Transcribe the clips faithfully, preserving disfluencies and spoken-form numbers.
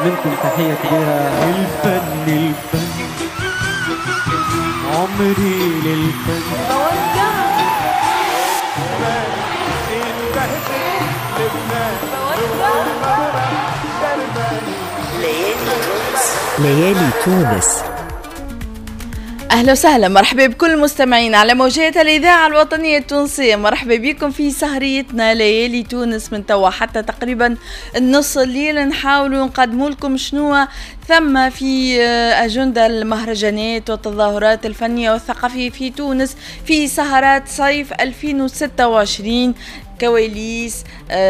منكم تحية كبيرة. الفن الفن عمري للفن ليالي تونس. أهلا وسهلا، مرحبا بكل المستمعين على موجات الإذاعة الوطنية التونسية. مرحبا بكم في سهريتنا ليالي تونس من توا حتى تقريبا النص الليل. نحاولوا نقدموا لكم شنو ثم في أجندة المهرجانات والتظاهرات الفنية والثقافية في تونس في سهرات صيف ألفين وستة وعشرين، كواليس،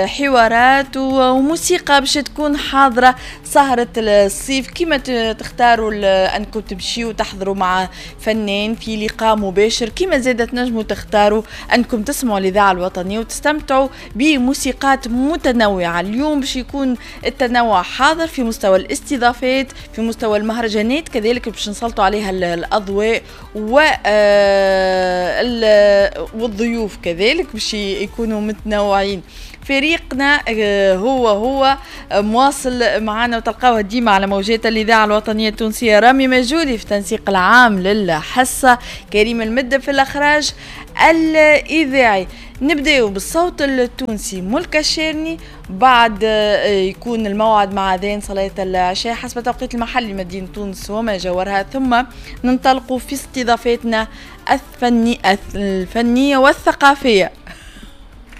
حوارات وموسيقى باش تكون حاضرة سهرة الصيف. كما تختاروا أنكم تمشيوا وتحضروا مع فنان في لقاء مباشر، كما زادت تنجموا تختاروا أنكم تسمعوا الإذاعة الوطنية وتستمتعوا بموسيقات متنوعة. اليوم باش يكون التنوع حاضر في مستوى الاستضافات، في مستوى المهرجانات، كذلك باش نسلطوا عليها الأضواء والضيوف كذلك باش يكونوا متنوعين. فريقنا هو هو مواصل معنا وتلقاوه ديما على موجات الإذاعة الوطنية التونسية. رامي مجودي في التنسيق العام للحصة، كريم المدب في الإخراج الإذاعي. نبداو بالصوت التونسي ملك الشارني، بعد يكون الموعد مع أذان صلاة العشاء حسب توقيت المحلي مدينة تونس وما جاورها، ثم ننطلق في استضافاتنا الفني الفنية والثقافية.